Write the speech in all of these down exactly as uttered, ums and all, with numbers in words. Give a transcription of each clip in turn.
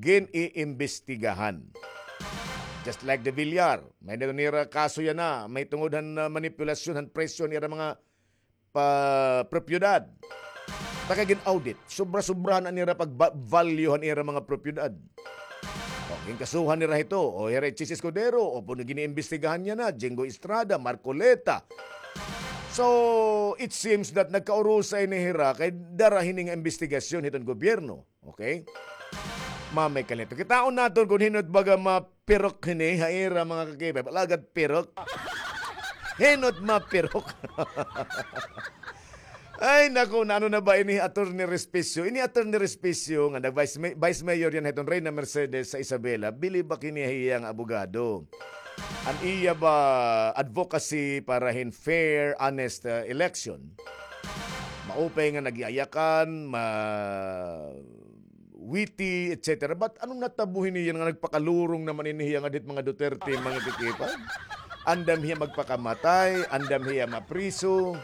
gin-iimbestigahan. Just like the Villar, may-ada nira kaso yana, may tungod han, ah, manipulasyon han presyo han ira mga pa-, propiedad. Pagka gin-audit, sobra-sobra na nira pag-, value han ira mga propiedad. O, ginkasuhan nira hito, o hira hi Chiz Escudero, o puro gin-iimbestigahan yana, Jingo Estrada, Marcoleta. So, it seems that nagkaurusa ini hira kay dara hini nga imbestigasyon hiton gobyerno. Okay? Mamay kalito. Kitaon naton kon hin-o it baga mapirok hini ha ira, mga kakipay. Alagad pirok. Hin-o it mapirok. Ay, naku, naano na ba ini Attorney Respicio? Ini Attorney Respicio nga nag-vice may-, vice mayor yana hiton Reyna Mercedes sa Isabela. Bili ba kini hiya nga abogado? An iya ba advocacy para hin fair, honest, uh, election? Maupay nga nagyayakan, ma-, witty, et cetera. But ano natabo hini yana nga nagpakalurong naman ini hiya nga dit mga Duterte, mga kakipay? Andam hiya magpakamatay, andam hiya mapriso,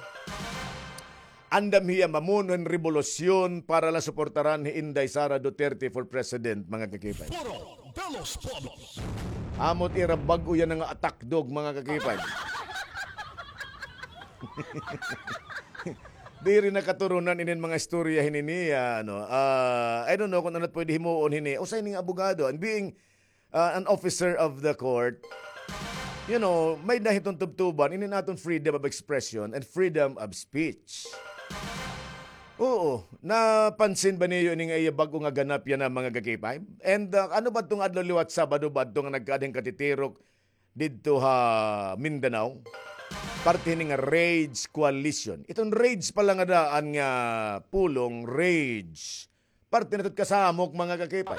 andam hiya mamuno hin rebolusyon para la suportaran hi Inday Sara Duterte for president, mga kakipay. Foro de los Pueblos. Amo it ira bag-o yana nga attack dog, mga kakipay. Diri na katurunan inin mga istorya hini niya, ano. Ah, I don't know kon ano it pwede himuon hini. Usa ini nga abogado, and being, ah, an officer of the court, you know, may-ada hiton tubtuban inin aton freedom of expression and freedom of speech. Oo, napansin ba niyo ini nga iya bag-o nga ganap yana, mga kakipay? And, ah, ano ba adto nga adlaw liwat, Sabado ba adto nga nagkaada hin katitirok didto ha Mindanao? Parte hini nga Rage Coalition. Iton Rage pala nga daan nga pulong, Rage. Parte na ito kasamok, mga kakipay.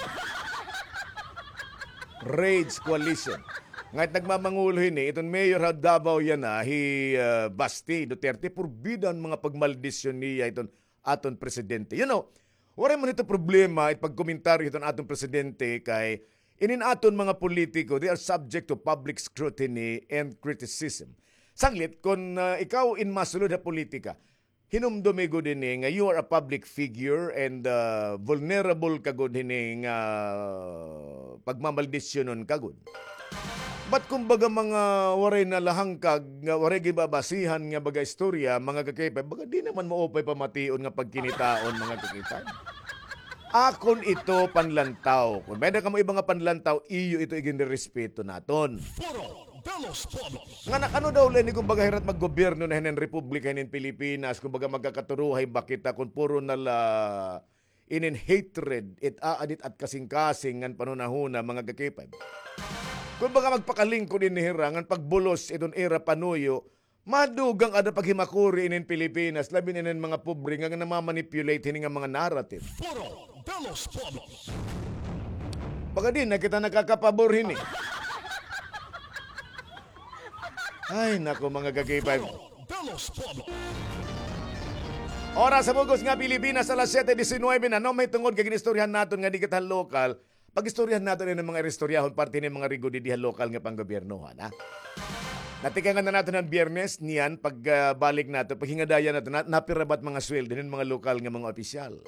Rage Coalition. Ngan it nagmamangulo hini, iton mayor ha Davao yana, hi, ah, Basti Duterte, purbida an mga pagmaldisyon niya iton aton presidente. You know, waray man ito problema it pagkomentaryo hiton aton presidente kay inin aton mga politiko, they are subject to public scrutiny and criticism. Sanglit, kon, ah, ikaw in masulod ha politika, hinumdumi gud ini nga you are a public figure and, ah, vulnerable ka gud hini nga pagmamaldisyonon ka gud. But kumbaga mga waray na la hangkag, nga waray ginbabasihan nga baga istorya, mga kakipay, baga di naman maupay pamation nga pagkinitaon, mga kakipay. Akon ito panlantaw. Kon may-ada kamo iba nga panlantaw, iyo ito iginrerespeto naton. Foro de los Pueblos. Nga nag-ano daw la ini, kumbaga, hira it maggobyerno na hinin republika hinin Pilipinas, kumbaga, magkakaturuhay ba kita kon puro na la inin hatred, it aadit at kasingkasing ngan panhunahuna, mga kakipay. Kumbaga, magpakalingkod ini hira ngan pagbulos iton ira panuyo, madugang ada paghimakuri inin Pilipinas, labi na inin mga pobre nga namamanipulate hini nga mga narrative. Foro de los Pueblos. Baga di na kita nakakapabor hini. Ay, naku, mga kakipay. Foro de los Pueblos. Oras sa bug-os nga Pilipinas, alas siyete disinuybe na. No, may tungod kay gin-istoryahan naton nga di kita lokal. Pag-istoryahan naton ini mga iristoryahon, parte ini mga rigor didi ha lokal nga panggobyernohan, ha? Natikangan na naton han Biyernes, niyan, pag, ah, balik naton, paghingadayan naton, na, napira ba it mga sweldo hin mga lokal nga mga opisyal?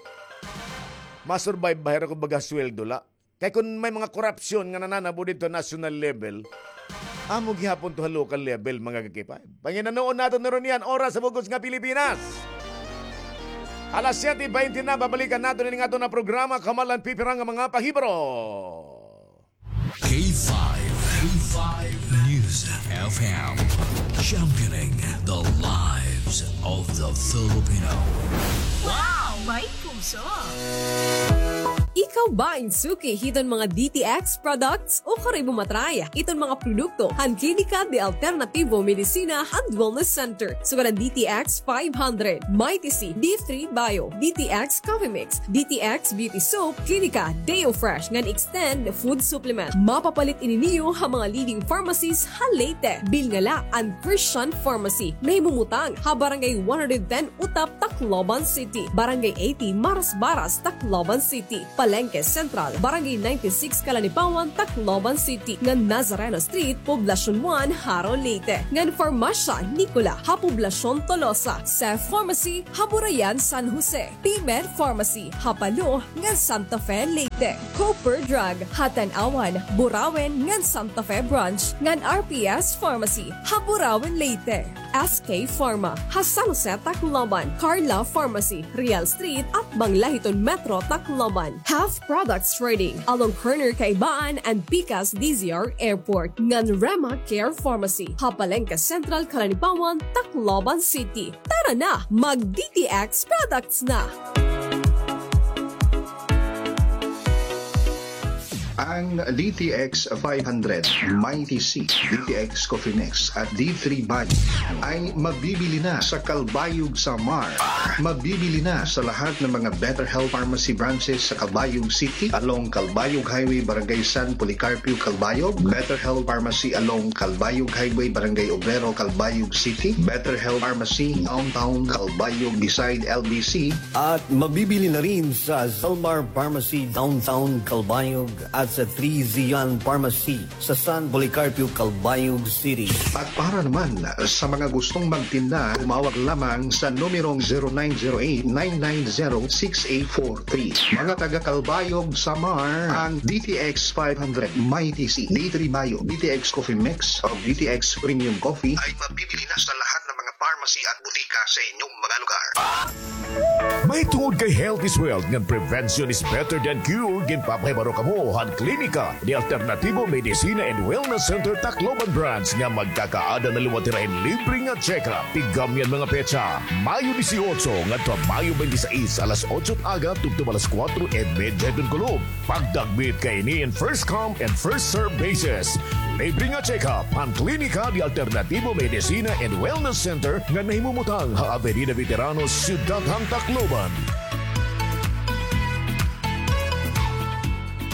Ma-survive ba hira kon baga sweldo la? Kay kon may mga korupsyon nga nananabo didto national level, amo gihapon to ha local level, mga kakipay. Panginanoon naton na ron yan, oras sa bug-os nga Pilipinas. Alas siyete baynte na, babalikan naton ini nga aton nga programa, Kamalan Pipira nga mga pahibro. K five, K five News F M, championing the lives of the Filipino. Wow! May puso! Ikaw ba in suki hiton mga D T X products? Ukon imo ma-try iton mga produkto han Klinika de Alternativo Medicina and Wellness Center. Sugad an D T X five hundred, Mighty C, D three Bio, D T X Coffee Mix, D T X Beauty Soap, Klinika Deo Fresh ngan Extend Food Supplement. Mapapalit ini niyo ha mga leading pharmacies ha Leyte. Bilngala an Christian Pharmacy, nahimumutang ha Barangay one hundred ten Utap, Tacloban City, Barangay eighty Marasbaras, Tacloban City, Palengke Central, Barangay ninety-six Calanipawan, Tacloban City, ngan Nazareno Street, Poblacion one, Jaro, Leyte, ngan Farmacia Nicola ha Poblacion Tolosa, Seth Pharmacy ha Burayan, San Jose, P-Med Pharmacy ha Palo ngan Santa Fe, Leyte. Copper Drug, ha Tanauan, Burauen, ngan Santa Fe Branch, ngan R P S Pharmacy, ha Burauen, Leyte. S K Pharma, ha San Jose, Tacloban, Carla Pharmacy, Real Street, atbang la hiton Metro Tacloban. Have Products Trading, along corner Caibaan and Pikas D Z R Airport, ngan Rema Care Pharmacy, ha Palenque Central, Calanipawan, Tacloban City. Tara na, mag D T X products na! Ang D T X five hundred, Mighty C, D T X Coffee Mix at D three Bio ay mabibili na sa Calbayog, Samar. Mabibili na sa lahat ng mga Better Health Pharmacy branches sa Calbayog City, along Calbayog Highway, Barangay San Policarpio, Calbayog, Better Health Pharmacy along Calbayog Highway, Barangay Obrero, Calbayog City, Better Health Pharmacy Downtown Calbayog beside L B C, at mabibili na rin sa Zalmar Pharmacy Downtown Calbayog at sa Three Zion Pharmacy sa San Policarpio, Calbayog City. At para naman sa mga gustong magtinda, tumawag lamang sa numerong zero nine zero eight nine nine zero six eight four three. Mga taga Calbayog, Samar, ang D T X five hundred, Mighty C, D three Bio, D T X Coffee Mix, o D T X Premium Coffee ay mabibili na sa lahat ng mga pharmacy at butika sa inyong mga lugar. Mahitungod kay health is wealth ngan prevention is better than cure, ginpapahibaro kamo han Klinika de Alternativo Medicina and Wellness Center Tacloban Branch nga magkakaada na liwat hira hin libre nga check-up. Tiggamyan mga petsa, Mayo dieciocho ngadto ha Mayo twenty-six, alas otso aga tubtob alas kuwatro y medya hiton kulop. Pagdagmit kaini in first come and first serve basis. Libre nga check-up han Klinika de Alternativo Medicina and Wellness Center nga nahimumutang ha Avenida Veteranos, Syudad han Tacloban.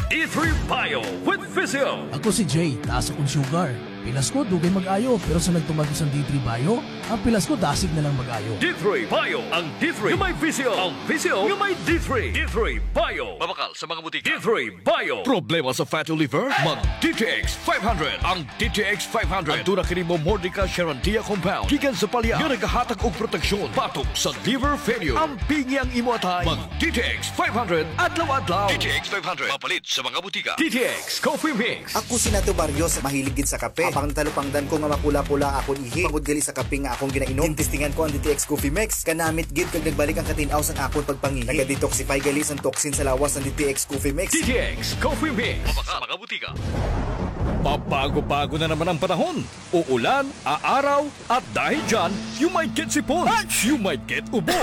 D three Bio with Physio. Ako si Jay, taas akon sugar. Pilas ko, dugay mag-ayo, pero sa nagtumag ko san D three Bio, an pilas ko dasig na lang mag-ayo. D three Bio, ang D three nga may Physio, ang Physio nga may D three. D three Bio. Mabakal sa mga butika. D three Bio. Problema sa fatty liver? Mag D T X five hundred. Ang D T X five hundred, aduna kini Momordica charantia compound gikan sa palya nga nagahatag og proteksyon batok sa liver failure. Ampingi ang imo atay. Mag D T X five hundred adlaw-adlaw. D T X five hundred, mapalit sa mga butika. D T X Coffee Mix. Ako si Nato Barrios, mahilig gid sa kape. Apang natalupangdan ko nga mapula-pula akon ihi tungod gali sa kape nga akon ginainom. Ginestingan ko an D T X Coffee Mix. Kanamit gid kag nagbalik an katin-aw san akon pagpangihi. Naga-detoxify gali san toxin sa lawas an D T X Coffee Mix. D T X Coffee Mix. Mabakal sa mga butika. Pabago-bago na naman ang panahon. Uulan, aaraw, at dahil dyan, you might get sipon, you might get ubo,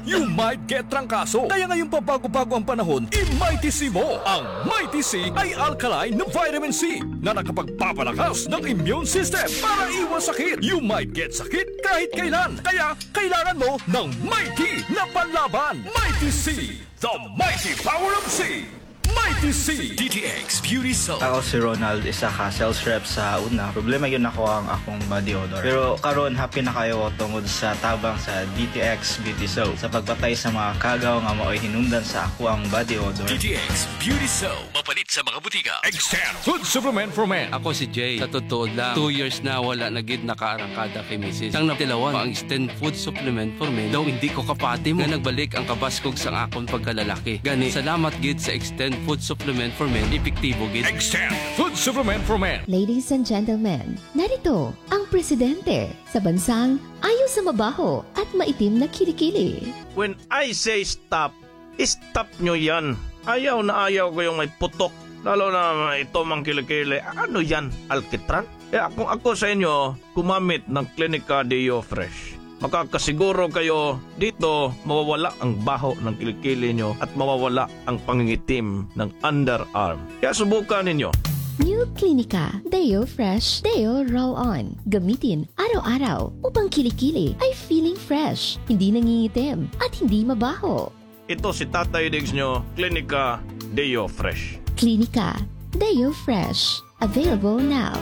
you might get trangkaso. Kaya ngayong pabago-bago ang panahon, i-Mighty C mo. Ang Mighty C ay alkaline na vitamin C na nakapagpapalakas ng immune system para iwas sakit. You might get sakit kahit kailan. Kaya kailangan mo ng Mighty na panlaban. Mighty C, the mighty power of C. Mighty C. D T X Beauty Soap. Ako si Ronald, isa ka sales rep sa una. Problema gyud nako ang akong body odor. Pero karon, happy na kaayo ko tungod sa tabang sa D T X Beauty Soap sa pagpatay sa mga kagaw nga maoy hinungdan sa akoang body odor. D T X Beauty Soap. Mapalit sa mga butika. Extend Food Supplement for Men. Ako si Jay. Sa totoo lang, two years na wala na gid nakaarangkada kay misis. Sang natilawan pa ang Extend Food Supplement for Men, daw hindi ko kapati mo nga nagbalik ang kabaskog sang akon pagkalalaki. Gani, salamat gid sa Extend Food Supplement for Men, epektibo gid. Extend Food Supplement for Men. Ladies and gentlemen, narito ang presidente sa bansang ayaw sa mabaho at maitim na kilikili. When I say stop, stop nyo yan. Ayaw na ayaw ko yung may putok. Lalo na ito mang kilikili. Ano yan? Alkitran? Kaya kung ako sa inyo, gumamit ng Clinica Deo Fresh. Makakasiguro kayo dito mawawala ang baho ng kilikili nyo at mawawala ang pangingitim ng underarm. Kaya subukan ninyo. New Clinica Deo Fresh Deo Roll On. Gamitin araw-araw upang kilikili ay feeling fresh, hindi nangingitim, at hindi mabaho. Ito si Tatay Diggs nyo, Clinica Deo Fresh. Clinica Deo Fresh. Available now.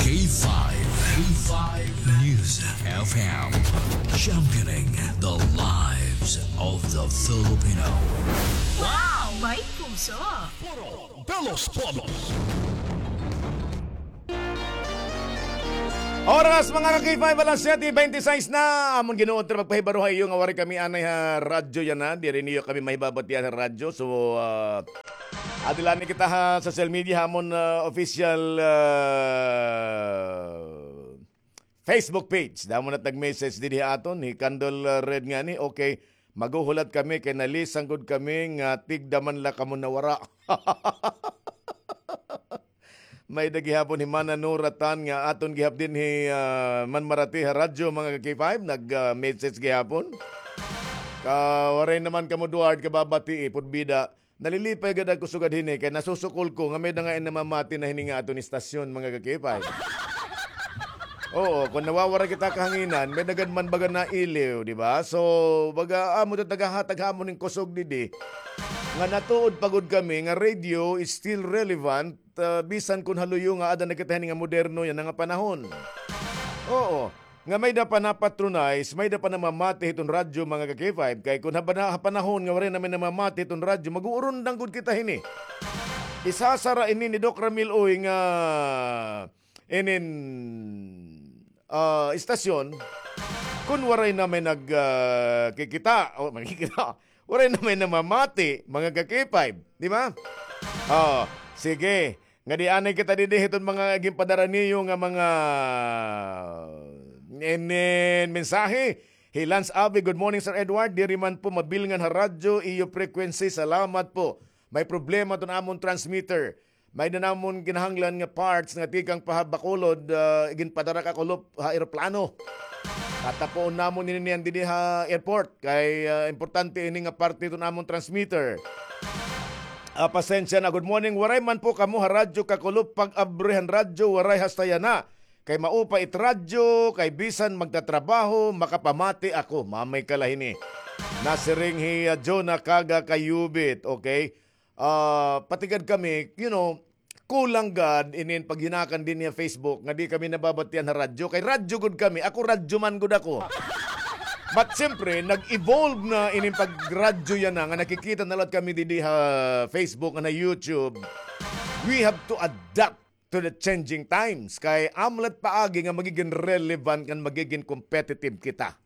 K five, K five News F M, championing the lives of the Filipino. Wow! May puso! Puro de los Pueblos. Oras, mga ka-K five, alas siyete bente seis na. Amon ginuot ra magpahibaro ha iyo nga waray kami anay ha radyo yana. Diri niyo kami mahibabatian ha radyo. So, ah, Adi la ni kita ha social media, ha amon, ah, official, ah, Facebook page. Damo na nag-message didi ha aton, hi Candle, ah, Red ngani. Okay, maghuhulat kami kay nalisang gud kami nga tigda man la kamo nawara. May-ada gihapon hi Mana Nora Tan nga aton gihap dinhi, ah, manmarati ha radyo, mga ka-K five, nag, ah, message gihapon. Ka, waray naman kamo, Duard, kababati, eh, pud bida. Nalilipay gad ako sugad hini, kay nasusukol ko nga may-ada nga namamati na hini nga aton istasyon, mga ka-K five. Oo, kon nawawara kita kahanginan, may-ada gad man baga nailiw, di ba? So, baga, amo ta nagahatag ha amon hin kusog didi. Nga natuod pa gud kami nga radio is still relevant, ah, bisan kon ha luyo nga ada na kita hini nga moderno yana nga panahon. Oo. Nga may-ada pa napatronize, may-ada pa namamati hiton radyo, mga ka-K five. Kay kon ha bana-, ha panahon nga waray na may namamati hiton radyo, mag-uurundang gud kita hini. Isasara ini ni Doc Ramil Uy nga inin, ah, istasyon, kon waray na may nag, ah, kikita, o, magkikita, waray na may namamati, mga ka-K five, di ba? Oh, sige. Nga di anay kita didi hiton mga ginpadara niyo nga mga inin mensahe. Hi Lance Avi, "Good morning, Sir Edward. Diri man po mabilngan ha radyo iyo frequency. Salamat po. May problema ton amon transmitter. May-ada namon kinahanglan nga parts nga tikang pa ha Bacolod, ah, iginpadara ka kulop ha eroplano. Tatapoon namon ini niyan didi ha airport. Kay, ah, importante ini nga parte ton amon transmitter." Ah, pasensya na. Good morning. Waray man po kamo ha radyo kakulop, pag-abri han radyo, waray hasta yana. Kay maupay it radyo, kay bisan magtatrabaho, makapamati ako. Mamay ka la hini. Nasiring hi, ah, Jonah Kaga Kayubit, okay? Ah, pati gad kami, you know, kulang gad inin paghinakan dinhi ha Facebook nga di kami nababatian ha radyo. Kay radyo gud kami. Ako, radyo man gud ako. But siyempre, nag-evolve na inin pagradyo yana nga nakikita na la kami didi ha Facebook, nga na YouTube. We have to adapt to the changing times. Kay amo la it paagi nga magigin relevant ngan magigin competitive kita.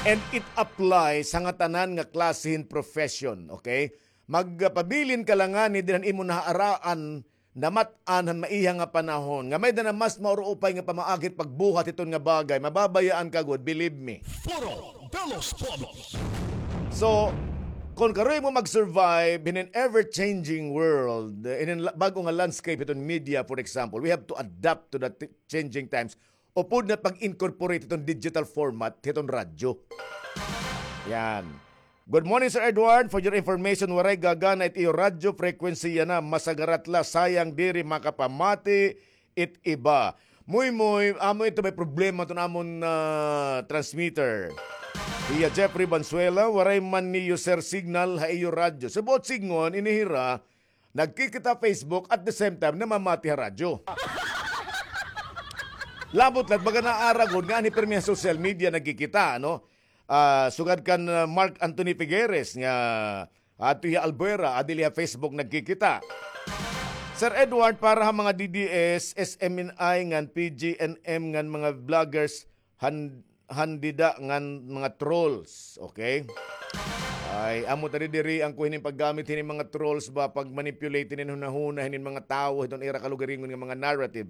And it applies ha ngatanan nga klase hin profession, okay? Magpabilin ka la ngani dinhi han imo nahaaraan, namat-an han maiha nga panahon. Nga may-ada na mas mauruupay nga pamaagi it pagbuhat hiton nga bagay. Mababayaan ka gud, believe me. Foro de los Pueblos. So, kon karon imo mag-survive in an ever-changing world, in an la-, bag-o nga landscape hiton media, for example, we have to adapt to the t-, changing times. Upod na pag-incorporate hiton digital format hiton radyo. Yan. Good morning, Sir Edward. For your information, waray gagana it iyo radyo frequency yana. Masagarat la, sayang diri makapamati it iba. Muymoy, amo ito may problema ton amon, ah, transmitter. Hiya Jeffrey Banzuela, waray man niyo, sir, signal ha iyo radyo. Sa buot sidngon, ini hira, nagkikita Facebook at the same time namamati ha radyo. Labot la it baga naara gud nga anhi pirmi ha social media nagkikita, no? Ah, sugad kan, ah, Mark Anthony Figueres nga adto hiya Albuera, adi la ha Facebook nagkikita. Sir Edward, para ha mga D D S, S M N I ngan P G N M ngan mga vloggers, han-, han dida ngan mga trolls, okay? Ay, amo ta diri, diri an kuan hinin paggamit hinin mga trolls ba, pag-manipulate hinin hunahuna hinin mga tawo hiton ira kalugaringon nga mga narrative.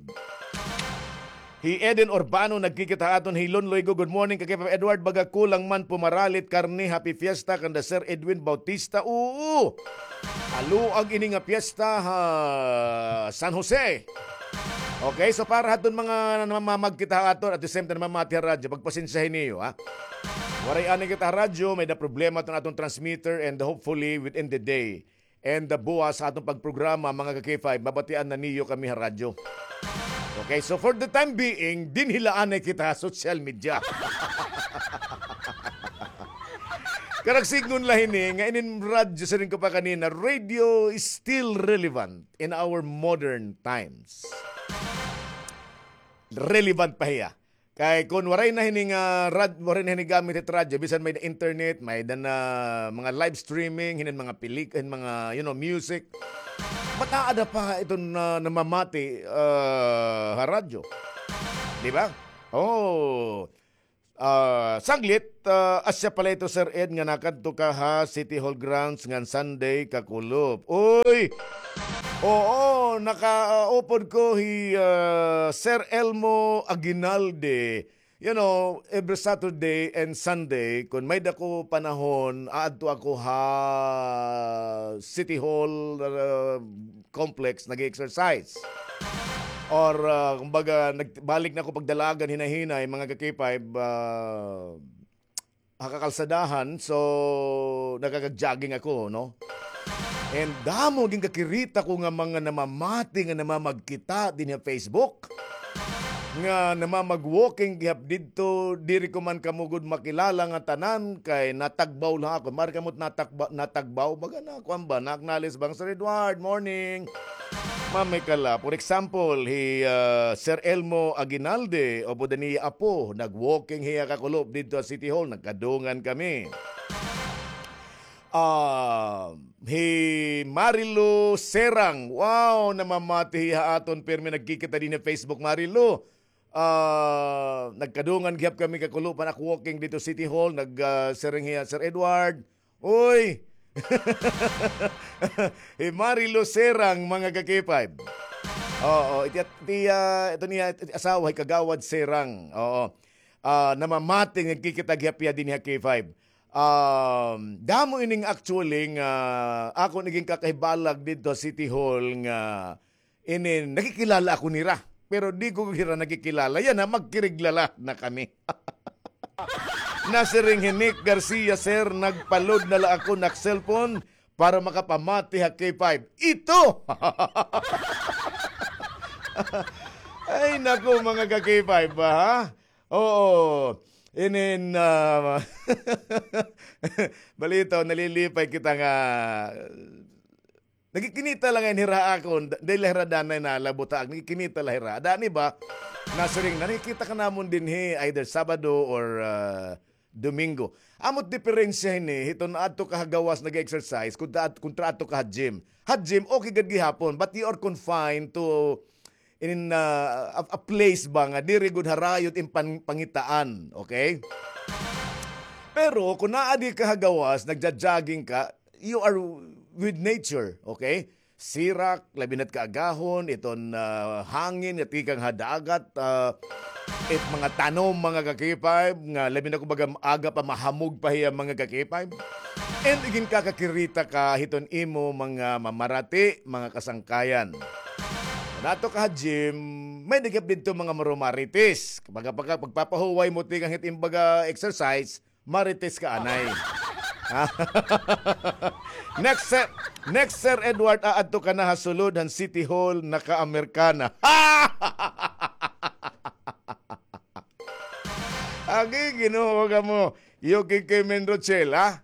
Hi Eden Urbano nagkikita ha aton, hi Lon Loigo, good morning, ka-K five Edward, baga kulang man pumaralit karne, happy fiesta kanda Sir Edwin Bautista. Oo. Haluag ini nga fiesta ha San Jose. Okay, so para hadton mga namamagkita ha aton, at the same time namamati ha radyo, pagpasensyahi niyo, ha? Waray anay kita ha radyo, may-ada problema ton aton transmitter, and hopefully within the day, and, uh, buwas sa aton pagprograma, mga ka-K five, mabatian na niyo kami ha radyo. Okay, so for the time being, dinhi la anay kita ha social media. Karag sidngon la hini, nga inin radyo, siring ko pa kanina, radio is still relevant in our modern times. Relevant pa hiya. Kay kon waray na hini nga rad-, waray na hini gamit it radyo, bisan may internet, may-ada na mga live streaming, hinin mga pelik-, hin mga, you know, music. Ba't aada pa iton, ah, namamati, ah, ha radyo? Di ba? Oh. Ah, sanglit, ah, asya pala ito, Sir Ed, nga nakadto ka ha City Hall grounds ngan Sunday kakulop. Uy! Oo, nakaupod ko hi, ah, Sir Elmo Aguinalde. You know, every Saturday and Sunday, kun may-ada ko panahon, aadto ako ha City Hall, ah, complex, nag-exercise. Or, ah, kumbaga, nagbalik na ako pagdalagan, hinay-hinay, mga ka-K five, ah, ha kakalsadahan, so, nakakag-jogging ako, no? And damo gin kakirita ko nga mga namamati nga namamagkita dinhi ha Facebook. Nga namamag-walking gihap didto, diri ko man kamo gud makilala nga tanan, kay natagbaw la ako. Maaari kamo natagba-, natagbaw, baga na, kuan ba, na-acknowledge ba nga, "Sir Edward, morning." Mamay ka la. For example, hi, ah, Sir Elmo Aguinalde, upod an iya apo, nag-walking hiya kakulop didto ha City Hall, nagkadungan kami. Ah, hi Marilu Serang, wow, namamati hiya ha aton, pirmi nagkikita dinhi ha Facebook, Marilu. Ah, nagkadungan gihap kami kakulop han ak walking didto City Hall, nag, ah, siring hiya, "Sir Edward, uy!" Hi Marilu Serang, mga ka-K five. Oo, iti, iti, ah, ito niya, iti asawa, hi Kagawad Serang. Oo. Ah, namamati, nagkikita gihap hiya dinhi ha K five. Um, damo ining actually nga akon igin kakahibalag didto ha City Hall nga inin, nakikilala ako nira. Pero di ko hira nakikilala. Yana, magkiriglalat na kami. Nasiring hi Nick Garcia, "Sir, nagpa-load na la ako nak cellphone para makapamati ha K five." Ito! Ay, naku, mga ka-K five ba, ha? Oo. Inin, ah, balitaw, nalilipay kita nga nagkikinita la ngay-an hira ha akon, da-, diri la hira danay nalabot ha ak, nagkikinita la hira. Ada ini ba, nasiring na, nakikita ka namon dinhi, either Sabado or, ah, Domingo. Amo it diperensya hini, hiton aadto ka ha gawas nag-exercise, kontra, kontra aadto ka ha gym. Ha gym, okay gad gihapon, but you are confined to in, ah, a, a place ba nga diri gud harayo it im pan-, pangitaan, okay? Pero kun aadi ka ha gawas, nagja-jogging ka, you are with nature, okay? Sirak, labi na't kaagahon, iton, ah, hangin nga tikang ha dagat, ah, it mga tanom, mga ka-K five, nga labi na kumbaga aga pa, mahamog pa hiya, mga ka-K five. And igin kakakirita ka hiton imo mga mamarati, mga kasangkayan. Kun aadto ka ha gym, may-ada gihap didto mga marumaritis. Pagka-, pagka-, pagpapahuway mo tikang hit im baga exercise, marites ka anay. Ha? Next, Sir, next, Sir Edward, aadto ka na ha sulod han City Hall, naka-Amerikana. Agi, Ginoo kamo. Iyo, K K Menrochel, ha?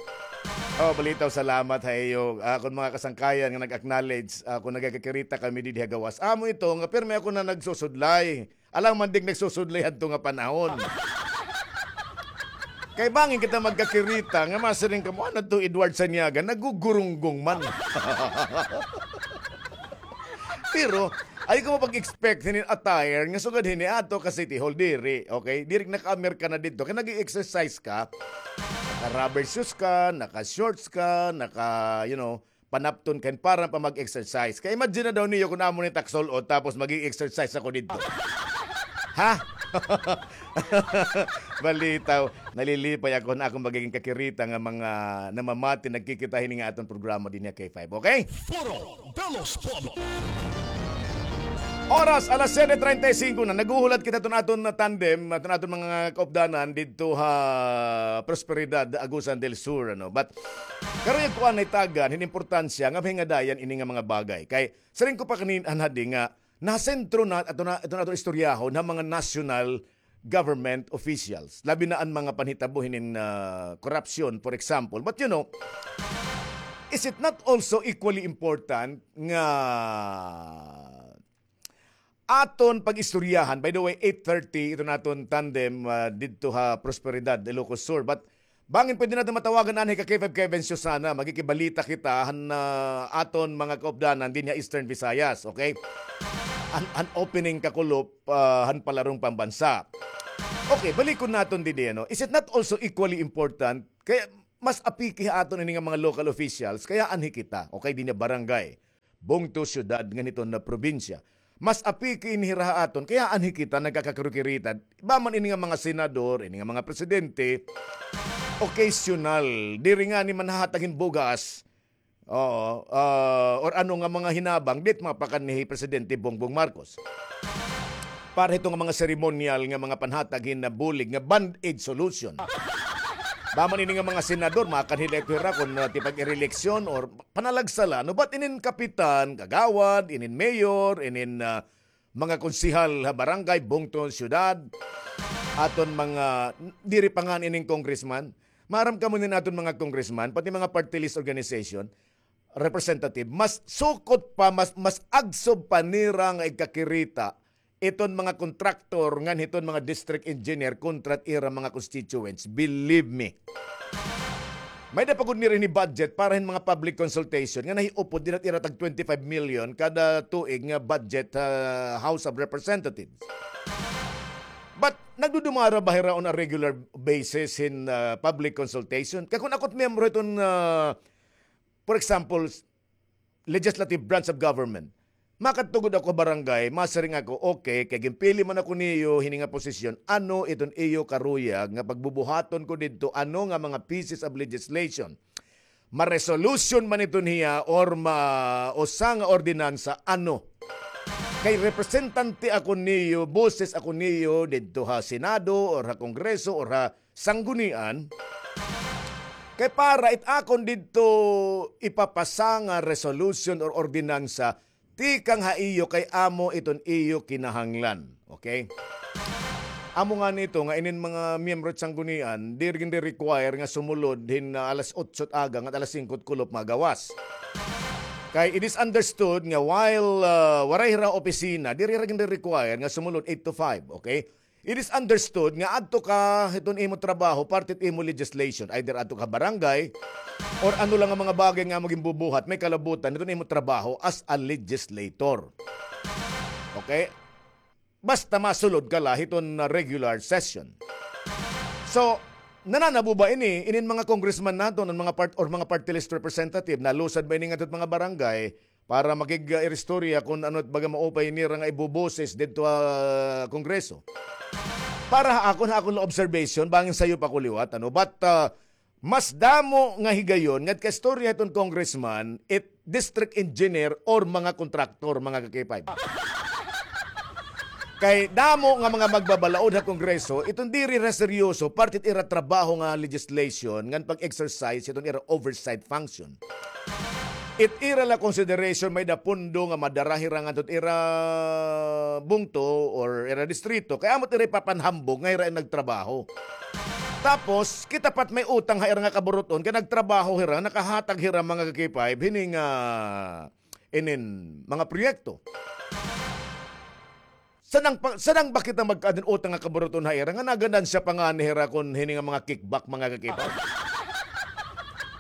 Oh, balitaw, salamat ha iyo. Akon mga kasangkayan nga nag-acknowledge, ah, kun nagakakirita kami didi ha gawas. Amo ito nga pirmi ako na nagsusudlay. Alangan man diri nagsusudlay hadto nga panahon. Kay bangin kita magkakirita nga masiring kamo, "Ano to, Edward Saniaga, nagugurunggong man." Pero, ayaw kamo pag-expect hinin attire nga sugad hini aadto ka City Hall, diri, okay? Diri naka-Amerikana didto. Kay nag-exercise ka, naka-rubber shoes ka, naka-shorts ka, naka, you know, panapton kan para pa mag-exercise. Kay imagine na daw niyo kun amo ni taksul-ot tapos mag-exercise ako didto. Ha? Balitaw, nalilipay ako na akon magiging kakirita nga mga namamati, nagkikita hini nga aton programa dinhi ha K five, okay? Foro de los Pueblos. Oras, alas siyete treinta y cinco na. Naghuhulat kita iton aton tandem, iton aton mga kaupdanan didto ha Prosperidad, Agusan del Sur, ano. But, karon, kuan, naitagan hin importansya nga mahingadayan ini nga mga bagay. Kay, siring ko pa kanina, anhadi nga, nasentro na, ato na, ato na, ato istoryahon ha mga national government officials. Labi na an mga panhitabo hinin, ah, korupsyon, for example. But, you know, is it not also equally important nga aton pag-istoryahan? By the way, eight thirty, ito naton tandem, ah, didto ha Prosperidad, Ilocos Sur. But bangin pwede naton matawagan anhi ka K five Kevin Susana, magkikibalita kita han, ah, aton mga kaupdanan dinhi ha Eastern Visayas, okay? An, an opening kakulop, ah, han palarong pambansa. Okay, balikon naton didi, ano? Is it not also equally important? Kay mas apiki ha aton ini nga mga local officials, kay anhi kita, okay, dinhi ha barangay, bungto, syudad, ngan hiton nga probinsya. Mas apiki ini hira ha aton, kay anhi kita nagkakakirikirita. Iba man ini nga mga senador, ini nga mga presidente, occasional, diri ngani manhahatag hin bugas, oo, ah, or ano nga mga hinabang, diri mapakan ni Presidente Bongbong Marcos. Para hito nga mga seremonyal nga mga panhatag hin bulig nga band-aid solution. Iba man ini nga mga senador, makanhi la ito hira kon, ah, tipag-reeleksyon or panalagsa la, no? But inin kapitan, kagawad, inin mayor, inin, ah, mga konsehal ha barangay, bungto, syudad, aton mga, diri pa ngani inin congressman. Maaram kamo inin aton mga congressman, pati mga party list organization, representative, mas sukot pa, mas, mas agsob pa nira nga igkakirita iton mga kontraktor ngan hiton mga district engineer kontra it ira mga constituents. Believe me. May-ada pa gud nira ini budget para hin mga public consultation nga nahiupod dinhi ha ira tag twenty-five million kada tuig nga budget ha House of Representatives. But nagdudumara ba hira on a regular basis hin, ah, public consultation? Kay kon ako it miyembro hiton, ah, for example, legislative branch of government, makadto gud ako ha barangay, masiring ako, "Okay, kay ginpili man ako niyo hini nga posisyon, ano iton iyo karuyag nga pagbubuhaton ko didto, ano nga mga pieces of legislation? Ma-resolution man iton hiya or ma-, usa nga ordinansa, ano?" Kay representante ako niyo, boses ako niyo didto ha Senado or ha Kongreso or ha Sanggunian, kay para it akon didto ipapasa nga resolution or ordinansa, tikang ha iyo kay amo iton iyo kinahanglan. Okay? Amo ngani ito nga inin mga miyembro it Sanggunian, diri gindi-require nga sumulod hin, ah, alas otso it aga ngan alas singko it kulop magawas. Kay it is understood nga while, ah, waray hira opisina, diri hira gindi-require nga sumulod eight to five, okay? It is understood nga adto ka hiton imo trabaho, parte it imo legislation. Either adto ka barangay, or ano lang nga mga bagay nga amo ginbubuhat, may kalabutan hiton imo trabaho as a legislator. Okay? Basta masulod ka la hiton, uh, regular session. So, nananabo ba ini, inin mga congressman naton, an mga part-, or mga party list representative, nalusad ba ini ngadto hit mga barangay, para makig-iristorya kon ano it baga maupay nira nga ibuboses didto ha Kongreso. Para ha akon, ha akon la observation, bangin sayop ako liwat, ano. But, ah, mas damo nga higayon ngadto ka istorya hiton congressman, it district engineer or mga kontraktor, mga ka-K five. Kay damo nga mga magbabalaod ha Kongreso, iton diri ra seryoso, parte it ira trabaho nga legislation, ngan pag-exercise, iton ira oversight function. It ira la consideration, may-ada pondo nga madara hira ngadto it ira bungto or ira distrito, kay amo it ira ipapanhambog nga hira an nagtrabaho. Tapos, kita pa it may utang ha ira nga kaburut-on, kay nagtrabaho hira, nakahatag hira mga ka-K five, hini nga inin mga proyekto. Sadang pa, sadang ba kita magkaada hin utang nga kaburut-on ha ira nga naganansya pa ngani hira kon hini nga mga kickback, mga ka-K five?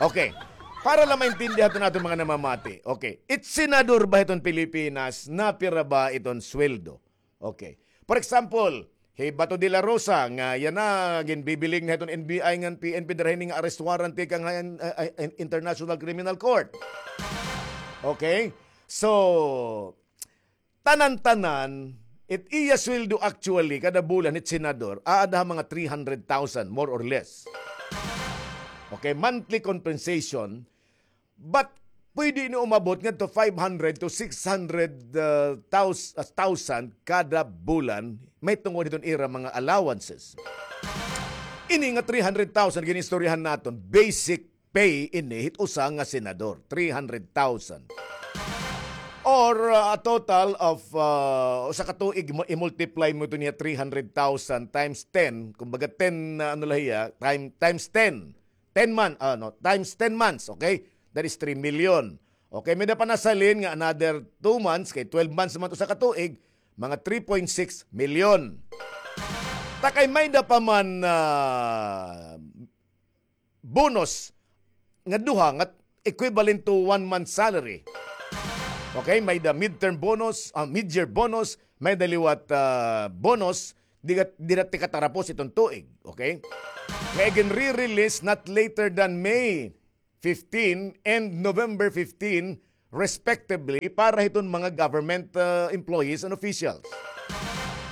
Okay. Para la maintindihan naton mga namamati. Okay. It senador ba hiton Pilipinas, napira ba iton sweldo? Okay. For example, hi Bato de la Rosa, nga yana, ginbibiling na hiton N B I ngan P N P dara hini nga arrest warrant tikang ha, ah, ah, International Criminal Court. Okay? So, tanan-tanan, it iya sweldo actually, kada bulan, it senador, aada ha mga three hundred thousand, more or less. Okay, monthly compensation, but pwede ini umabot ngadto five hundred to six hundred, uh, thous-, uh, thousand kada bulan, mahitungod hiton ira mga allowances. Ini nga three hundred thousand, ginistoryahan naton, basic pay ini hit usa nga senador, three hundred thousand. Or, uh, a total of, uh, usa ka tuig, mo, i-multiply mo ito niya three hundred thousand times ten, kumbaga ten, uh, ano la hiya, time, times ten. Ten month, ano, times ten months, okay? That is three million. Okay, may-ada pa nasalin nga another two months, kay twelve months man usa ka tuig, mga three point six million. Ta kay may-ada pa man, ah, bonus nga duha nga equivalent to one month salary. Okay, may-ada midterm bonus, ah, mid-year bonus, may-ada liwat, ah, bonus, di, di na tikatarapos iton tuig, okay? Nga igin-re-release not later than May fifteen and November fifteen, respectively, para hiton mga government, ah, employees and officials.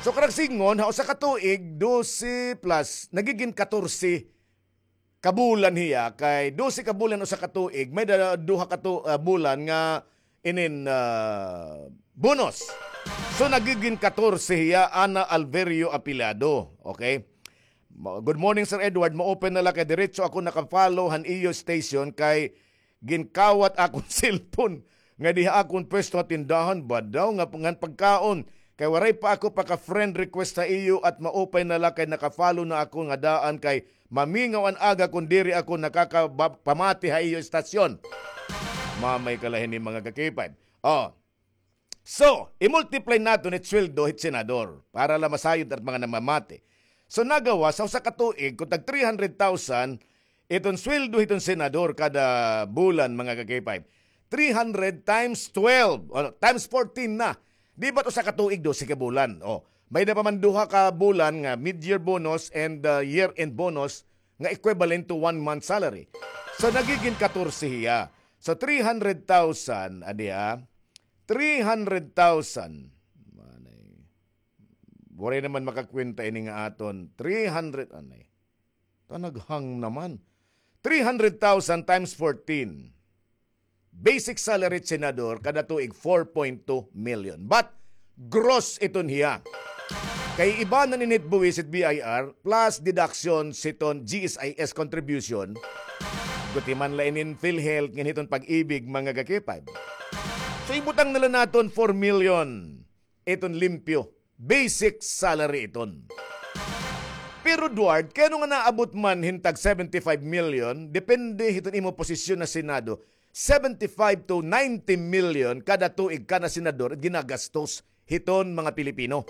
So, karuyag sidngon, ha usa ka tuig, dose plus, nagigin katorse ka bulan hiya, kay dose ka bulan usa ka tuig, may da-, duha ka tu-, ah, bulan nga inin, ah, bonus. So, nagigin katorse hiya, Ana Alverio Apilado. Okay? Ma-, good morning, Sir Edward. Ma-open na la kay diretso ako naka-follow han iyo station kay ginkawat akon cellphone nga diha akon pwesto ha tindahan ba daw nga ngan pagkaon. Kay waray pa ako paka-friend request ha iyo at ma-open na la kay naka-follow na ako nga daan kay mamingaw an aga kon diri ako nakakaba-, pamati ha iyo estasyon. Mamay ka la hini, mga ka-K five. Oh. So, i-multiply naton it sweldo hit senador para la masayod at mga namamati. So, nagawas, sa usa ka tuig, kon tag three hundred thousand, iton sweldo hiton senador kada bulan, mga ka-K five. Three hundred times twelve, o, times fourteen na. Di ba't usa ka tuig, dose ka bulan? O, may-ada pa man duha ka bulan nga mid-year bonus and, uh, year-end bonus nga equivalent to one month salary. So, nagigin katorse hiya. So, three hundred thousand, adi ha? Three hundred thousand. Manay. Waray naman makakwenta ini nga aton. Three hundred, anay. Tanaghang naman. Three hundred thousand times fourteen. Basic salary senador kada tuig four point two million. But gross iton hiya. Kay iba na ninit buwis it B I R plus deduction siton G S I S contribution. Gutiman la inin PhilHealth ngan hiton Pag-ibig, mga ka-K five. So ibutang na la naton four million. Iton limpyo. Basic salary iton. Pero Duard, kay ano nga naabot man hin tag seventy-five million, depende hiton imo posisyon ha Senado, seventy-five to ninety million kada tuig kada senador ginagastos hiton mga Pilipino.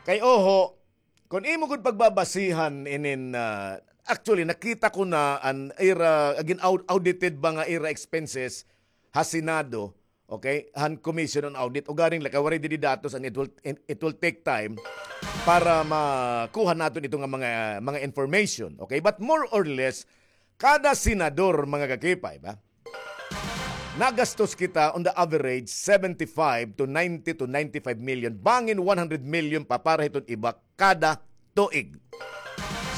Kay oho, kon imo gud pagbabasihan inin, ah, actually, nakita ko na an ira, again, au-, audited ba nga ira expenses ha Senado, okay, han Commission on Audit, ugaring la kay waray didi datos and it will, it will take time para makuha naton ito nga mga, mga information, okay? But more or less, kada senador, mga ka-K five, ha? Nagastos kita on the average seventy-five to ninety to ninety-five million, bangin one hundred million pa para hiton iba kada tuig.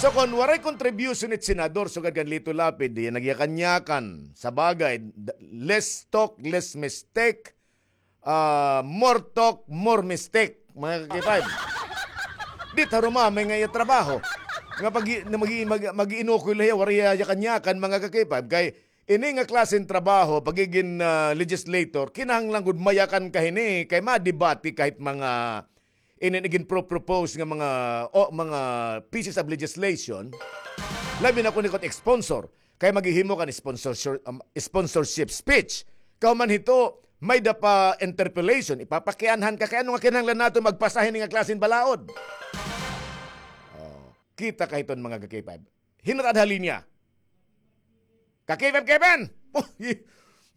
So, kon waray contribution it senador, sugad kan Lito Lapid, di nagyakan-yakan. Sa bagay, d-, less talk, less mistake. Ah, more talk, more mistake, mga ka-K five. Di tarumamay nga iya trabaho. Nga pag-, na magi-, mag-, mag-iinukoy la hiya, waray yakan-yakan, mga ka-K five. Kay ini nga klase hin trabaho, pagigin, ah, legislator, kinahanglan gud mayakan ka hini, kay madebate ka hit mga inin igin-pro-propose nga mga, o, mga pieces of legislation, labi na kon ikaw it sponsor, kay maghihimo ka hin sponsorship, um, sponsorship speech. Kahuman hito, may-ada pa interpellation, ipapakianhan ka, kay ano nga kinahanglan naton magpasa hini nga klase hin balaod? O, kita ka hiton, mga ka-K five. Hin-o it ada ha linya? Ka-K five Kevin! Uy,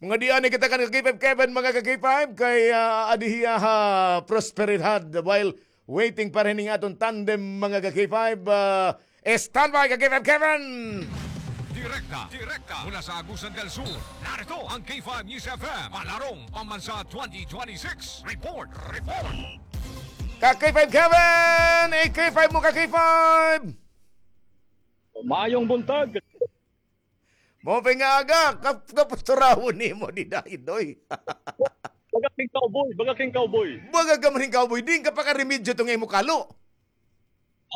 mga di anay kita kan ka-K five Kevin, mga ka-K five, kay, ah, adi hiya ha Prosperidad. While waiting para hining aton tandem, mga ka-K five, ah, standby, ka-K five Kevin! Direkta, direkta mula sa Agusan del Sur, narito ang K five News F M, Palarong Pambansa twenty twenty-six. Report, report! Ka-K five Kevin! I-K five mo, ka-K five! Maayong buntag. Maupay nga aga, kap-, kapos turawon nimo dida, Idoy. Baga king cowboy, baga king cowboy. Baga ka man king cowboy, diin ka pakaremedyo to nga imo kalo?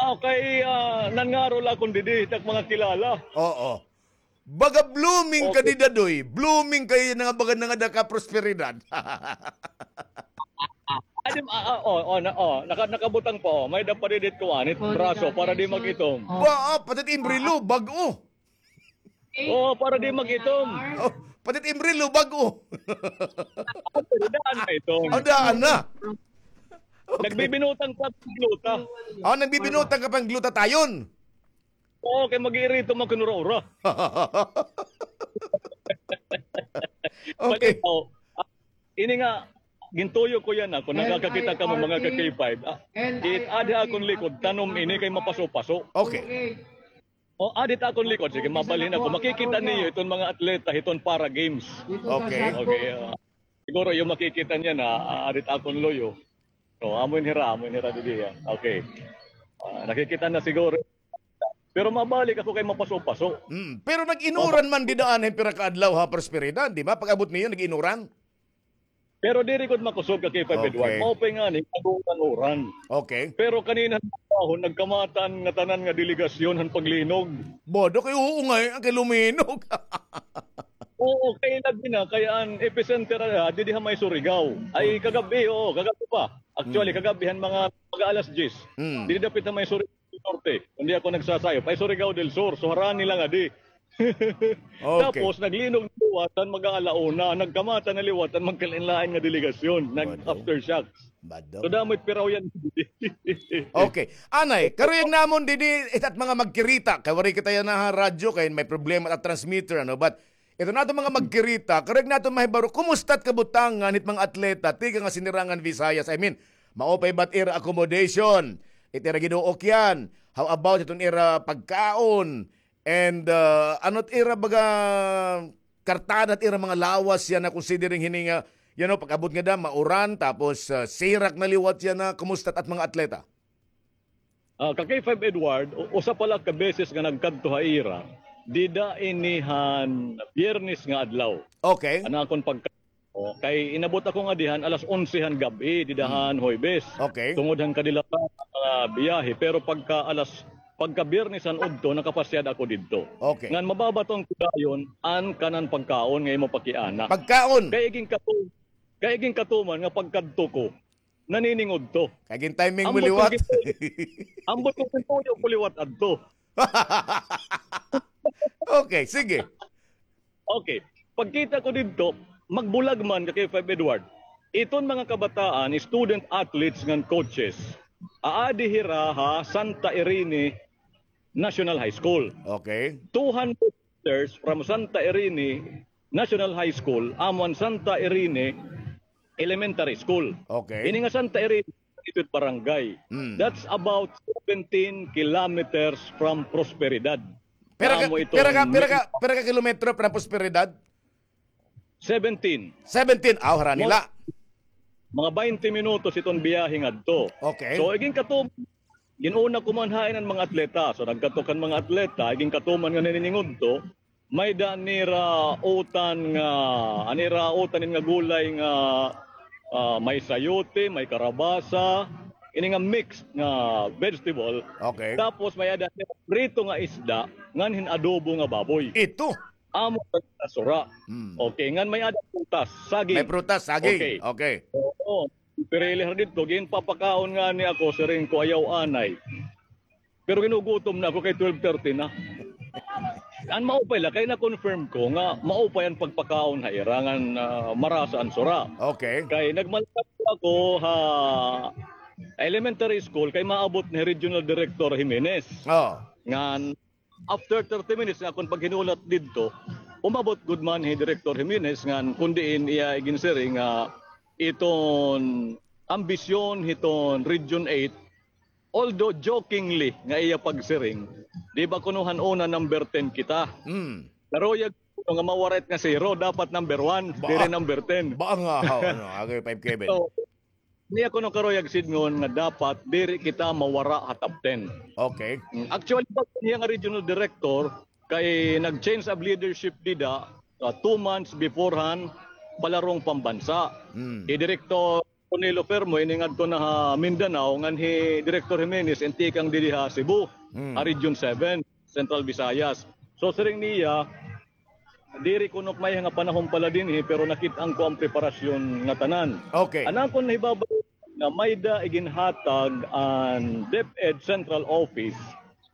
Ah, kay, ah, nangaro la akon didi, tak mga kilala. Oo. Baga blooming ka dida, Doy. Blooming kay nga baga nangada ka prosperidad. Adi, ah, ah, oh, oh, na, oh, naka-, nakabutang pa, oh. May-ada pa didi kuan, it braso, para di mag-itom. Ba, ah, pati it imbrilo, bag-o. Oo, para di mag-itom. Oh, pati it imbrilo, bag-o. Pero daan na itom. Oh, daan na. Okay. Nagbibinutang pa ang gluta. Oh, nagbibinutang ka pa hin glutathione. Oo, kay mag-iirita man kun ura-ura. Okay. Pati, oh, ah, ini nga, Gintuyo ko yana, kon nakakakita kamo mga ka-K five. Ah, it, adi ha akon likod, tanom ini kay mapaso-paso. Okay. O, adi ha akon likod, sige, mabalhin ako. Makikita niyo iton mga atleta hiton Para Games. Okay. Okay, ah, siguro iyo makikita niyan, ah, adi ha akon luyo. So, amo ini hira, amo ini hira didi, ah. Okay. Ah, nakikita na siguro. Pero mabalik ako kay mapaso-paso. Mm, pero nag-inuran man dida anay pira ka adlaw ha Prosperidad, di ba? Pag-abot niyo, nag-inuran? Pero diri gud makusog ka K five Edward. Okay. Maupay ngani, nag-uran-uran. Okay. Pero kanina han trabaho, nagkamata an ngatanan nga delegasyon han paglinog. Bodo kay, oo nga, eh, an kay luminog. Oo, kay labi na, kay an epicenter, ah, didi ha may Surigao. Ay, okay, kagab-i, oo, kagab-i pa. Actually, mm, kagab-i han mga, mga alas diyes. Mm. Didi dapit ha may Surigao del Norte. Kundi ako nagsasayop. Ay, Surigao del Sur. So, harani la ngadi. Okay. Tapos, naglinog liwat an mag-aala una. Nagkamata na liwat an magkalain-lain nga delegasyon. Nag-aftershocks. Bado. So, damo it piraw yana. Okay. Anay, karuyag namon didi, it at mga magkirita. Kay waray kita yana ha radyo, kay may problema it at transmitter, ano. But, ito naton mga magkirita, karuyag naton mahibaro, kumusta it kabutangan hit mga atleta, tikang ha Sinirangan Visayas? I mean, maupay ba it ira accommodation? It ira giduok yana? How about iton ira pagkaon? And, ah, ano it ira baga kartada it ira mga lawas yana considering hini nga, you know, pag-abot ngada, mauran, tapos, ah, sirak na liwat yana, kumusta it at mga atleta? Ah, ka K five Edward, u-, usa pa la ka beses nga nagkadto ha ira, dida ini han Biyernes nga adlaw. Okay. An akon pagka-, o, kay inabot ako ngadi han alas onse han gab-i, dida han Huwebes. Okay. Tungod han kadilata han mga biyahe, pero pagka alas, pagka Biyernes han udto, nakapasyada ako didto. Okay. Ngan mababaton ko dayon an kanan pagkaon nga imo pakiana. Pagkaon? Kay igin katu-, kay igin katuman nga pagkadto ko, naniningudto. Kay gintiming mo liwat. Ambot ko gintuyo ko liwat adto. Okay, sige. Okay. Pagkita ko didto, magbulag man ka K five Edward. Iton mga kabataan, student athletes ngan coaches, aadi hira ha Santa Irene National High School. Okay. Two hundred meters from Santa Irene National High School, amo an Santa Irene Elementary School. Okay. Ini nga Santa Irene, ito it barangay. Mm. That's about seventeen kilometers from Prosperidad. Pira ka, amo ito pira ka, pira ka, pira ka kilometro from Prosperidad? Seventeen. Seventeen, aw, harani la. Mga baynte minutos iton biyahe ngadto. Okay. So, igin katuman, gin-una ko man hain an mga atleta. So, nagkadto kan mga atleta, igin katuman nga naniningudto, may-ada nira utan nga, an ira utan ini nga gulay nga, ah, may sayote, may karabasa, ini nga mix nga vegetable. Okay. Tapos may-ada nira prito nga isda, ngan hin-adobo nga baboy. Ito? Amo an sura. Hmm. Okay, ngan may-ada prutas, saging. May prutas, saging. Okay. Okay. Oo. Pirili hira didto, ginpapakaon ngani ako, siring ko, ayaw anay. Pero ginugutom na ako kay twelve thirty na. An maupay la, kay na-confirm ko nga maupay an pagpakaon ha ira ngan, ah, marasa an sura. Okay. Kay nagmalakad ako ha elementary school kay maabot ni Regional Director Jimenez. Oh. Ngan after thirty minutes nga akon paghinulat didto, umabot gud man hi Director Jimenez ngan kon diin iya iginsiring nga iton ambisyon hiton Region eight, although jokingly nga iya pagsiring, di ba kuno han una number ten kita? Hmm. Karuyag kuno nga mawara it nga zero, dapat number one, diri number ten. Ba nga, ano, agay five Kevin. So, niya kuno karuyag sidngon nga dapat diri kita mawara ha top ten. Okay. Mm, actually, bag-o niya nga regional director, kay nag-change of leadership dida, ah, two months before han palarong pambansa. Mm. Hi Director Ronilo Fermo, ini ngadto na ha Mindanao, ngan hi Director Jimenez, intikang didi ha Cebu, mm, ha Region seven, Central Visayas. So, siring niya, diri kuno ak maiha nga panahon pala dinhi, pero nakit-an ko an preparasyon ngatanan. Okay. An akon nahibabaw nga may-ada iginhatag an DepEd Central Office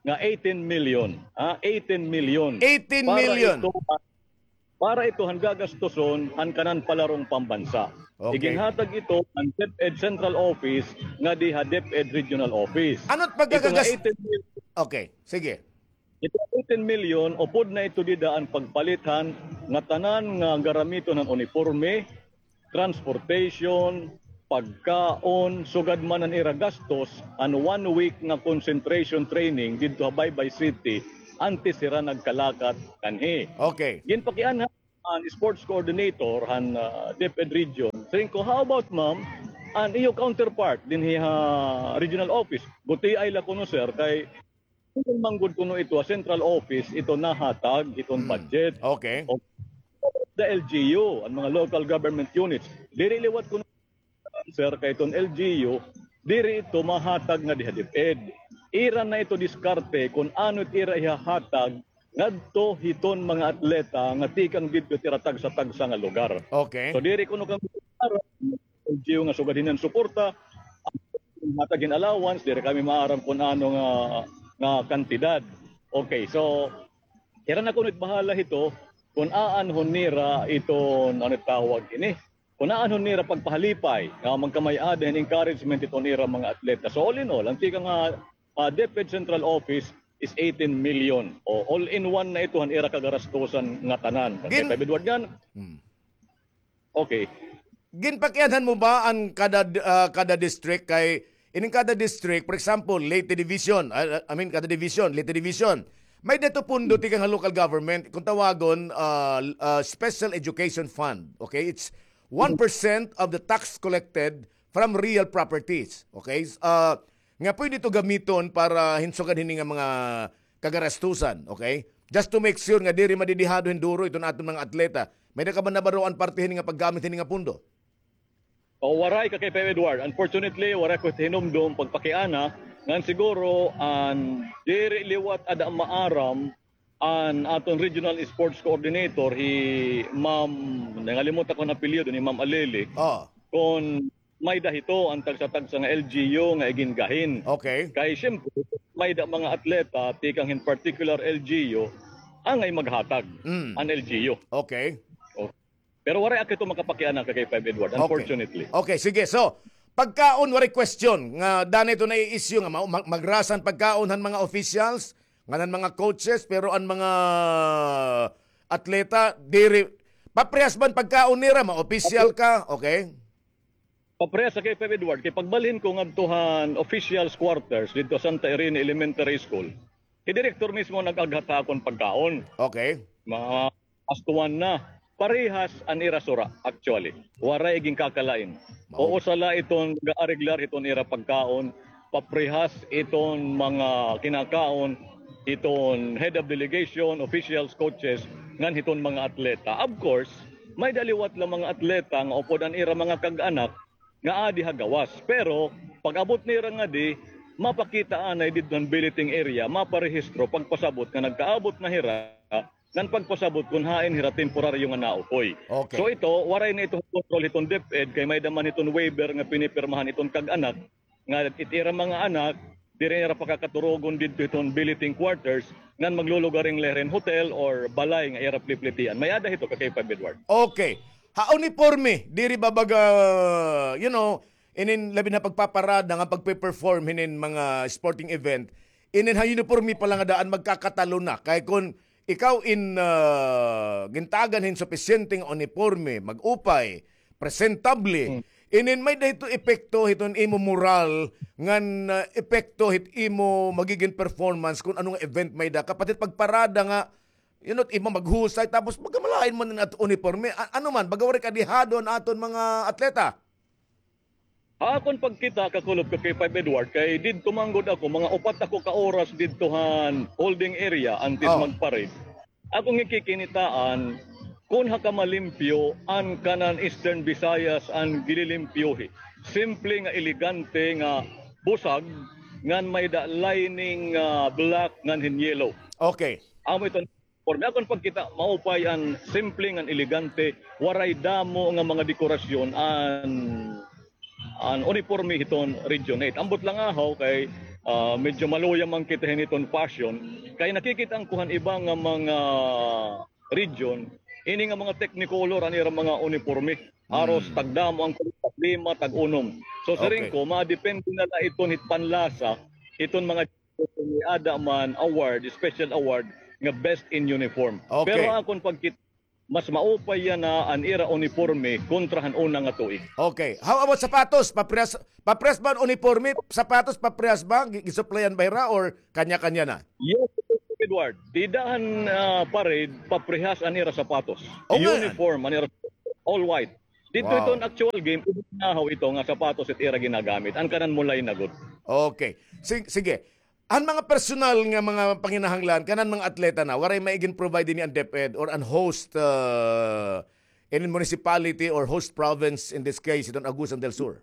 nga eighteen million, ha? Eighteen million. Eighteen million. Para ito, para ito han gagastuson han kanan palarong pambansa. Okay. Iginhatag ito han DepEd Central Office ngadi ha DepEd Regional Office. Ano it pagkagagas-, eighteen million. Okay, sige. Ito eighteen million, upod na ito dida an pagpalit han ngatanan nga garamiton han uniporme, transportation, pagkaon, sugad man an ira gastos, an one week nga concentration training didto ha Baybay City, antes hira nagkalakat kanhi. Okay. Ginpakianha an sports coordinator han, ah, DepEd region. Siring ko, "How about, ma'am, an iyo counterpart dinhi ha regional office?" Gutiay la kuno, sir, kay Diri man gud kuno ito ha central office ito nahatag iton budget. Okay. O the L G U, an mga local government units. Diri liwat kuno, sir, kay iton L G U, diri ito mahatag ngadi ha DepEd. Ira na ito diskarte kon ano it ira ihahatag ngadto hiton mga atleta nga tikang didto it ira tagsa-tagsa nga lugar. Okay. So, diri kuno kami L G U nga sugad hini an suporta, hatag hin allowance, diri kami maaram kon ano nga, nga kantidad. Okay, so, hira na kuno it bahala hito, kon aanhon nira iton, ano tawag ini, kon aanhon nira pagpahalipay, nga magkamay-ada hin encouragement iton ira mga atleta. So, all in all, an tikang, ah, ah, DepEd Central Office is eighteen million. O, all in one na ito, han ira kagarastusan nga tanan. Okay, Gin- Five Edward, ngan, Hmm. Okay. Ginpakianhan mo ba an kada, ah, kada district kay, ining kada district, for example, Leyte Division, ah, I mean, kada division, Leyte Division, may-ada ito pondo tikang ha local government, kung tawagon, ah, ah, Special Education Fund. Okay? It's one percent of the tax collected from real properties. Okay? Ah, nga pwede ito gamiton para hin sugad hini nga mga kagarastusan, okay? Just to make sure nga diri madidihado hin duro iton aton mga atleta. May-ada ka ba nabaroan parte hini nga paggamit hini nga pondo? O, waray, Kakay Pep Edward. Unfortunately, waray ko hinumdom pagpakiana. Ngan siguro, an diri liwat ada maaram an aton regional sports coordinator, hi Ma'am, nangalimot ako an apelyido, ni Ma'am Alili. Ah. Kon may-ada hito an tagsa-tagsa nga L G U nga igingahin. Okay. Kay siyempre, may-ada mga atleta tikang hin particular L G U angay maghatag Mm. an L G U. Okay. Oh. Pero waray ako ito makapakiana, Kakay Pep Edward, Okay. unfortunately. Okay, sige. So, pagkaon, waray question nga danay ito nai-issue nga ma-, ma-, magrasa an pagkaon han mga officials, ngan han mga coaches, pero an mga atleta, diri, paprehas ba an pagkaon nira, ma-official ka, okay? Paprehas, Kakay Pep Edward, kay pagbalhin ko ngadto han officials quarters didto Santa Irene Elementary School, hi direktor mismo nag-aghat ha akon pagkaon. Okay. Mga astuan na. Parehas an ira sura, actually. Waray ginkakalain. Mao. Usa la iton ga-areglar hiton ira pagkaon, paprehas iton mga kinakaon hiton head of delegation, officials, coaches, ngan hiton mga atleta. Of course, may-ada liwat la mga atleta nga upod an ira mga kag-anak nga adi ha gawas. Pero pag-abot nira ngadi, mapakita anay didto han billeting area, maparehistro, pagpasabot nga nagkaabot na hira, ngan pagpasabot kon hain hira temporaryo nga naukoy. Okay. So ito, waray na ito kontrol hiton DepEd, kay may-ada man hiton waiver nga pinipirmahan hiton kag-anak, nga it ira mga anak, diri nira pakakaturugon didto hiton billeting quarters, ngan maglulugaring la hira hin hotel or balay nga ira pliplitian. May-ada hito, Kakay Pep Edward. Okay. Ha uniporme, diri ba baga, you know, inin labi na pagpaparada nga pagpe-perform hinin mga sporting event, inin ha uniporme pa la nga daan magkakatalo na. Kay kon ikaw in, ah, gintagan hin supisyente nga uniporme, mag-upay, presentable, Hmm. inin may-ada hito epekto hiton imo moral, ngan, ah, epekto hit imo magigin performance kon ano nga event may-ada ka. Pati pagparada nga, you know, iba maghusay, tapos baga malain man an aton uniporme. A-, ano man, baga waray kadihado an aton mga atleta. Ha akon pagkita, kakulop, Kakay Pep Edward, kay didto man gud ako, mga upat ako ka oras didto han holding area antes Oh. mag-parade. Akon gikikinitaan, kon ha kamalimpyo, an kanan Eastern Visayas an gililimpyohi. Simple nga elegante nga busag, ngan may-ada lining nga black ngan hin yellow. Okay. Amo iton uniporme. Akon pagkita, maupay an simple ngan elegante, waray damo nga mga dekorasyon an, an uniporme hiton Region eight. Ambot la ngahaw kay, ah, medyo maluya man kita hini hiton fashion, kay nakikita ko han iba nga mga region, ini nga mga technicolor an ira mga uniporme. Haros Hmm. tagdamo an kulor, tag-lima, tag-unom. So, siring Okay. ko, madepende na la iton hit panlasa, iton mga may-ada man award, special award, nga best in uniform. Okay. Pero akon pagkit-, mas maupay yana an ira uniporme kontra han una nga tuig. Okay. How about sapatos? Paparehas, paparehas ba an uniporme? Sapatos, paparehas ba? Gi-, gisuplayan ba hira or kanya-kanya na? Yes, Edward. Dida han, ah, parade, paparehas an ira sapatos. O, nga. Uniform an ira, all white. Didto, wow, iton actual game, nahaw ito nga sapatos it ira ginagamit. An kanan mulay na gud. Okay. Sig-, sige. An mga personal nga mga panginahanglan, kanan mga atleta na, waray may igin-provide hini an DepEd or an host, uh, in municipality or host province, in this case, iton Agusan del Sur?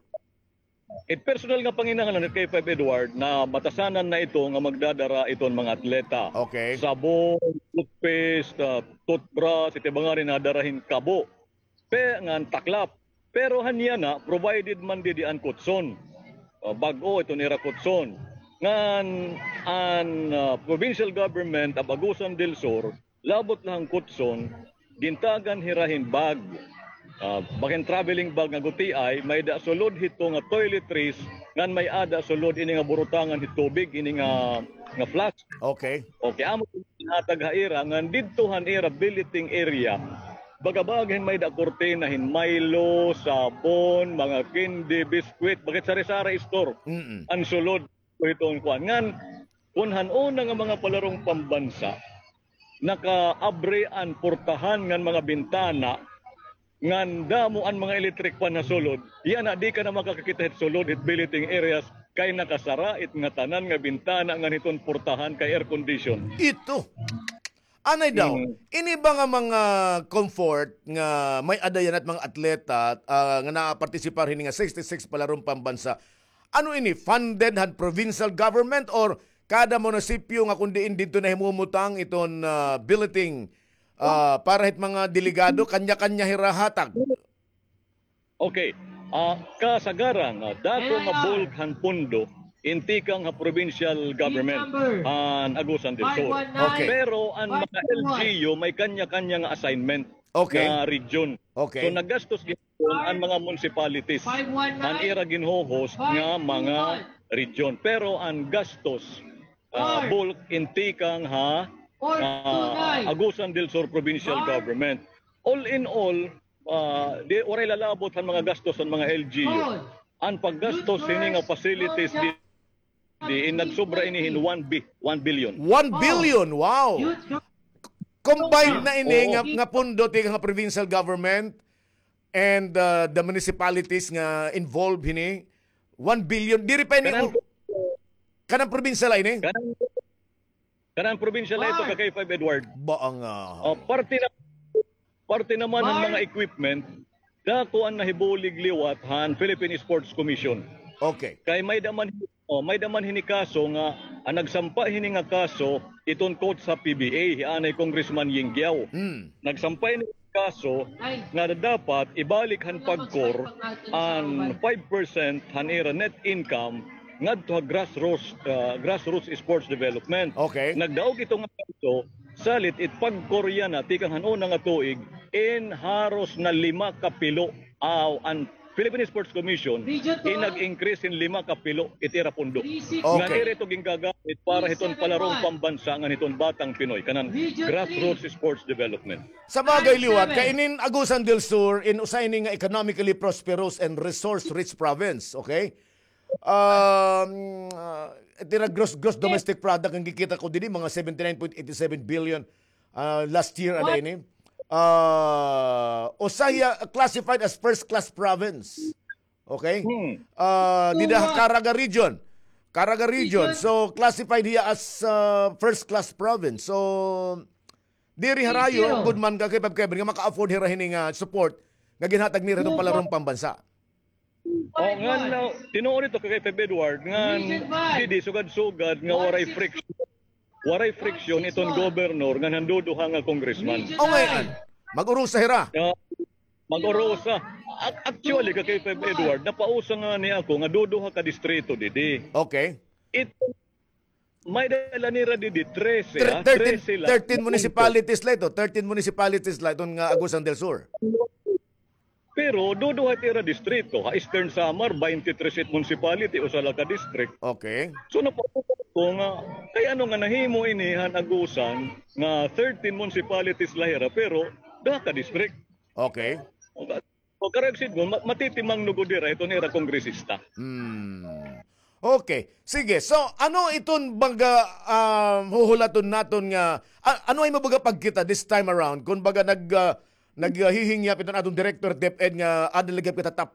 It personal nga panginahanglan it K five Edward na batasanan na ito nga magdadara iton mga atleta. Okay. Sabon, toothpaste, uh, toothbrush, iti ba ngani nadara hin kabo. Pe-, ngan taklap. Pero han yana, provided man didi an kutson. Uh, bag-o iton ira kutson. Ngan an, uh, provincial government of Agusan del Sur, labot la han kutson, gintagan hira hin bag. Uh, bakin traveling bag nga gutiay, may-ada sulod hito nga toiletries, ngan may-ada sulod ini nga burutangan hit tubig, ini nga, nga flask. Okay. Okay, amo ginhatag ha ira, ngan didto han ira billeting area, baga-baga hin may-ada kurtina hin Milo, sabon, mga candy, biskwit, bakit sari-sari store. Mm-mm. An sulod, iton kuan. Ngan, kun han una nga mga palarong pambansa, nakaabri an portahan ngan mga bintana, ngan damo an mga electric fan ha sulod, yana di ka na makakakita hit sulod, hit billeting areas, kay nakasara it ngatanan nga bintana ngan hiton portahan kay air condition. Ito. Anay daw, mm, ini ba nga mga comfort nga may-ada yana it mga atleta, ah, nga naapartisipar hini nga sixty-six palarong pambansa, ano ini, funded han provincial government or kada munisipyo nga kun diin didto nahimumutang iton, ah, billeting, ah, para hit mga delegado, kanya-kanya hira hatag? Okay. Ah, kasagaran, ah, dako nga bulk han pondo in tikang ha provincial government han Agusan del Sur. Okay. Pero an mga L G U may kanya-kanya nga assignment, okay, nga region. Okay. So, naggastos gihapon an mga municipalities han ira ginho-host nga mga region. Pero an gastos, ah, bulk in tikang ha, ah, Agusan del Sur Provincial Government. All in all, ah, di, waray lalabot han mga gastos han mga L G U. An paggastos hini nga facilities di, di, in nagsobra ini hin one bi-, one billion. One billion, wow! Combined na ini nga, nga pondo tikang nga provincial government and, uh, the municipalities nga involved hini. One billion. Diri pa ini, kanan, kanan probinsya la ini? Kanan, kanan probinsya la ito, ka K five Edward. Ba nga, ah, parte na, parte naman han mga equipment, dako an nahibulig liwat han Philippine Sports Commission. Okay. Kay may-ada man, oh, may-ada man hini kaso nga an nagsampa hini nga kaso, iton coach ha P B A, hi anay Congressman Ying Guiao. Hmm. Nagsampa ini kaso nga dapat ibalik han PAGCOR an five percent han ira net income ngadto ha grassroots, ah, grassroots sports development. Okay. Nagdaog ito nga kaso, salit it PAGCOR yana tikang han una nga tuig, in haros na lima ka pilo, aw, an Philippine Sports Commission, in nag-increase hin lima ka pilo it ira pondo. Nga diri ito gingagamit para hiton palarong pambansa ngan hiton batang Pinoy, kanan grassroots sports development. Sa bagay liwat, kay inin Agusan del Sur, in usa ini nga economically prosperous and resource-rich province, okay? Um, ah, it ira gross, gross domestic product, an gikita ko didi, mga seventy-nine point eight seven billion, ah, last year, ano ini? Ah, usa hiya classified as first-class province. Okay? Hmm. Ah, dida ha Caraga region. Caraga region. So, classified hiya as, ah, first-class province. So, diri harayo, good man ka kay Pab Kevin, nga maka-afford hira hini nga support nga ginhatag nira hiton palarong pambansa. O, ngan, ah, tinuod ito kay Pab Edward, ngan didi sugad-sugad nga waray friction. Waray friction iton gobernor ngan han duduha nga congressman. O, ngay-an, mag-urusa hira. Mag-urusa. Ac-, actually, ka K five Edward, napausa ngani ako nga duduha ka distrito didi. Okay. It, may-ada la nira didi, trese, ha? Thirteen, trese la. Thirteen municipalities la ito. Thirteen municipalities la iton nga Agusan del Sur. Pero duduha it ira distrito. Ha Eastern Samar, twenty-three seat municipality, usa la ka district. Okay. So, napausa ko nga, kay ano nga nahimo ini han Agusan nga thirteen municipalities la hira, pero Duha ka district. Okay. O, ka- o karuyag sidngon, ma- matitimang no gud dira iton ira kongresista. Hmm. Okay. Sige. So, ano iton baga um, huhulaton naton nga a- ano ay mabaga pagkita this time around? Kung baga nag uh, naghihingyap iton aton director DepEd nga adalagap kita top